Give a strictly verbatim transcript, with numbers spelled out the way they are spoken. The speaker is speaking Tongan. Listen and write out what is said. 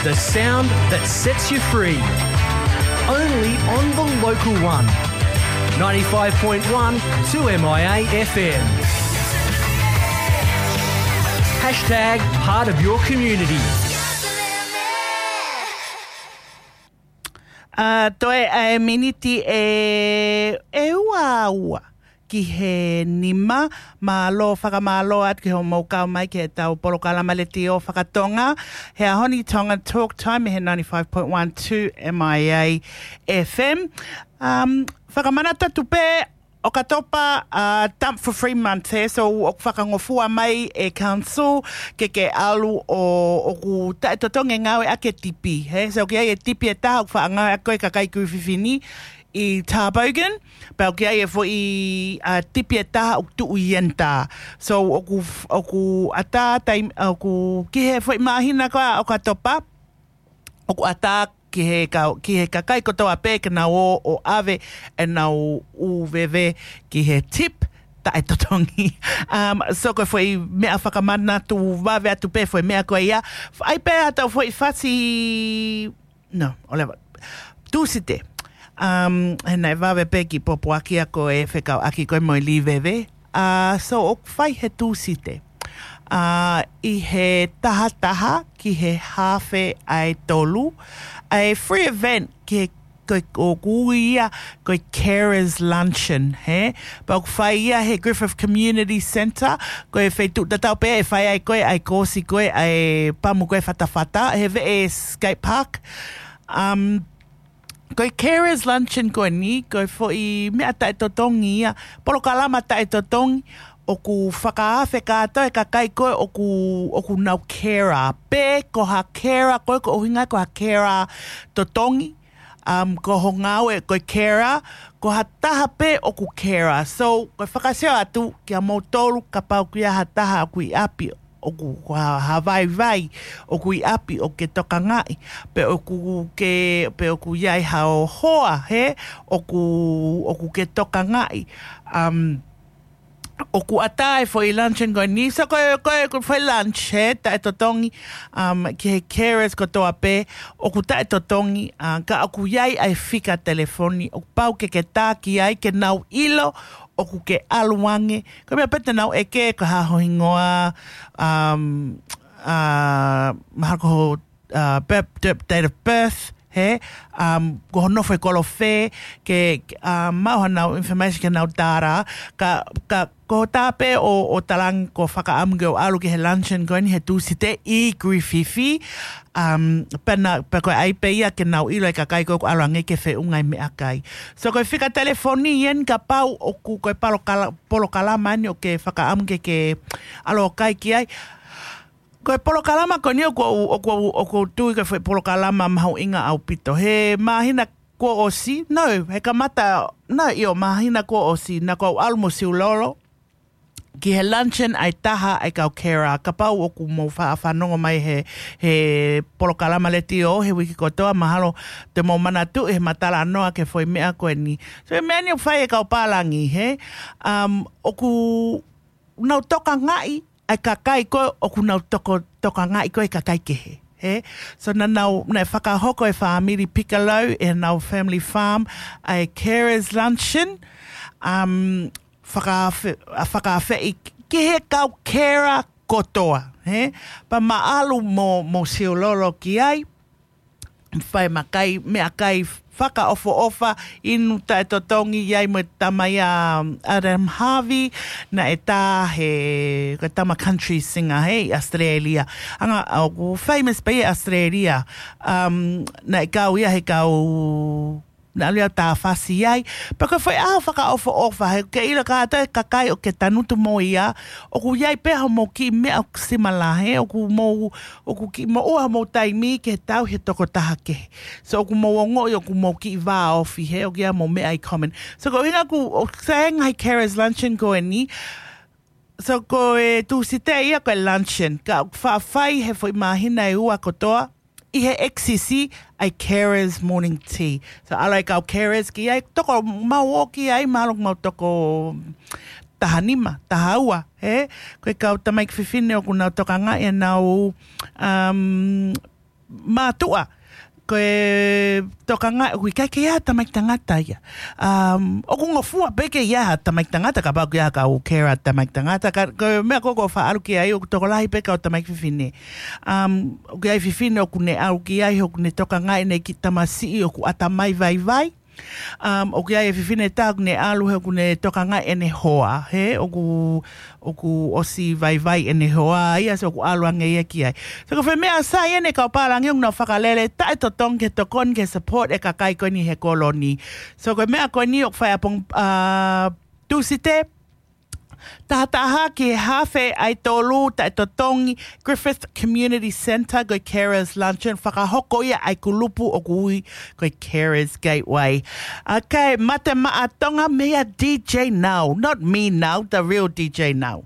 The sound that sets you free. Only on the local one. ninety-five point one two M I A F M. Hashtag part of your community. ʻA, toe ʻa e miniti ʻe, ʻe ua ua ki he nima. Mālō, fakamālō atu ki hoʻomou kau mai ki heʻetau polokalama letiō fakatonga. He ʻaho ni Tonga Talk Time he ninety-five point one two M I A F M. Um, fakamanatu atu pē ʻOkatopa, ʻa, Dump for Free Month, he, so ʻoku fakangofua mai ʻe council ke ke ʻalu ʻo, ʻoku taʻetotongi e ngāueʻaki e tipi, he, so ʻoku ʻi ai e tipi ʻe taha ʻoku faʻa ngāueʻaki ko e kakai Griffith ni ʻi Tarbogan, pea ʻoku ʻi ai e foʻi, ʻa, tipi ʻe taha ʻoku tuʻu ʻi Yentā. So ʻoku, ʻoku ʻatā taimi, ʻoku ki he foʻi māhina ko ia ʻOkatopa, ʻoku ʻatā ki he kau, ki he kakai kotoa pē ke nau ō ʻo ʻave ʻenau ʻū veve ki he tip taʻetotongi. Um, so ko e foʻi meʻa fakamanatu vave atu pē foʻi meʻa ko ia. ʻAi pē ʻetau foʻi fasi, no, ʻo leva. Tūsite. Um, he naʻe vave pē ki pōpoaki ʻa ko e fekauʻaki ko e mo e lī veve. ʻA, so ʻoku fai he Tūsite. ʻA, ʻi he taha taha ki he haafe ʻa e tolu, ʻa e free event ki he, ko e, ʻoku ui ia ko e Carers Luncheon, he? Pea ʻoku fai ia he Griffith Community Centre, ko e feituʻu tatau pē ʻe fai ai ko e, ʻa e koosi ko e, ʻa e pamu ko e fatafata, he veʻe skate park. Um, Ko e Carers Luncheon ko eni, ko e foʻi meʻa taʻetotongi ia, polokalama taʻetotongi, ʻoku fakaafe kātoa e kakai ko ē ʻoku, ʻoku nau carer. Pe ko ha carer, ko e ko ʻuhinga ko ha carer totongi, um, ko ho ngāue ko e carer, ko ha taha pē ʻoku carer. So, ko e fakasio atu kia moutolu kapau ʻoku ʻi ai ha taha ʻoku ʻi ʻapi ʻoku ha, ha vaivai, ʻoku ʻi ʻapi ʻoku ke tokangaʻi, pe ʻoku ke, pe ʻoku ʻi ai haʻo hoa, he, ʻoku, ʻoku ke tokangaʻi. Um, ʻoku ʻatā e foʻi luncheon ko eni, so ko e, ko e, ko e foʻi lunch, he, taʻetotongi, um, ki he carers kotoa pē, ʻoku taʻetotongi, uh, ka ʻoku ʻi ai ʻa e fika telefoni, ʻoku pau ke ke tā ki ai, ke nau ʻilo, ʻoku ke ʻalu ange, ko e meʻa pē te nau ʻeke, ko e hā ho hingoa, um, uh, mahalo ko ho, uh, birth, date of birth, he, um, ko ho nofo ʻi kolo fē, ke, uh, maʻu haʻanau information ke nau tāra, ka, ka, ko e tā pē ʻo, ʻo talaange ʻoku ou fakaʻamu ke u ʻalu ki he luncheon ko eni he Tūsite ʻi Griffith, um, pea na, pea ko e ʻai pē ia ke nau ʻilo e kakai ko ē ʻoku ʻalu ange ke feʻunga e meʻakai. So ko e fika telefoni eni kapau ʻoku ko e palokala-, polokalama eni ʻoku ke fakaʻamu ke ke ʻalu ʻo kai ki ai. Ko e polokalama ko eni ʻoku ou, ʻoku ou, ʻoku ou tui ko e foʻi polokalama mahuʻinga ʻaupito. He māhina kuo ʻosi, no, he kamata, no, ʻio, māhina kuo ʻosi, naʻa ku ʻalu mo Siulolo ki he luncheon ʻa e taha ʻa e kau carer, kapau ʻoku mou fa-, fanongo mai he, he polokalama letiō, he uike kotoa mahalo te mou manatuʻi he ma talanoa ki he foʻi meʻa ko eni. So e meʻa ni ʻoku fai ʻe he kau pālangi, he, um, ʻoku nau tokangaʻi ʻa e kakai ko ē ʻoku nau toko, tokangaʻi ko ē kakai kehe, he. So naʻa nau, naʻe fakahoko e fāmili Piccolo, ʻenau family farm, ʻa e carers luncheon, um, fakaafe-, a, fakaafeʻi ki he kau carer kotoa, he? Pea ma ʻalu mo, mo Siulolo ki ai, fai e meʻakai, meʻakai fakaʻofoʻofa, inu taʻetotongi, ʻi ai mo e tama ia, um, Adam Harvey, naʻe tā he, ko e tama country singer, he, ʻi Australia. Anga, ʻoku famous pē ʻi Australia. Um, naʻe kau ia he kau naʻa ʻalu ia ʻo tā fasi ai. Pea ko e foʻi ʻaho fakaʻofoʻofa, he ke ʻilo kātoa e kakai ʻoku ke tangutu mo ia, ʻoku ʻi ai pē haʻamou kiʻi meʻa ʻoku similar, he, ʻoku mou, ʻoku kiʻi moʻua haʻamou taimi ke tau he tokotaha kehe. So ʻoku mou ongoʻi ʻoku mou kiʻi vāofi, he, ʻoku ʻi ai haʻamou meʻa in common. So ko e ʻuhinga ʻoku, ʻoku sai e ngaahi carers luncheon ko eni, so ko e Tūsite ia ko e luncheon, ka ʻoku faʻa fai he foʻi māhina ʻe ua kotoa, ʻi he X C C ʻa e carers morning tea. So ʻalu e kau carers ki ai, toko mau ō ki ai, mahalo ʻoku mau toko taha nima, taha ua, he? Ko e kau tamaiki fefine ʻoku nau tokangaʻi ʻenau, um, mātuʻa, ko e tokangaʻi ʻoku ʻikai ke ʻi ai ha tamaiki tangata ia. Um, ʻoku ngofua pē ke ʻi ai ha tamaiki tangata, kapau ʻoku ʻi ai ha kau carer tamaiki tangata, ka ko e meʻa ko ē ʻoku ou faʻa ʻalu ki ai ʻoku tokolahi pē kau tamaiki fefine. Um, ʻoku ʻi ai fefine ʻoku ne ʻalu ki ai, ʻoku ne tokangaʻi ʻene kiʻi tamasiʻi ʻoku ʻatamai vaivai. Um, ʻoku ʻi ai e fefine ʻe taha ʻoku ne ʻalu he ʻoku ne tokangaʻi ʻene hoa, he ʻoku, ʻoku ʻosi vaivai ʻene hoa ia, so ʻoku ʻalu ange ia ki ai. So ko e foʻi meʻa sai eni kau pālangi ʻoku nau fakalele taʻetotongi ke tokoni ke support e kakai ko eni he kolo ni. So ko e meʻa ko eni ʻoku fai ʻapongi, uh, Tūsite, taha taha ki he hafe ʻa e tolu taʻetotongi, Griffith Community Centre, ko e Carers Luncheon, fakahoko ia ʻa e kulupu ʻoku ui ko e Carers Gateway. Okay, Mate Maʻa Tonga, meia D J Nau, not me Nau, the real D J Nau.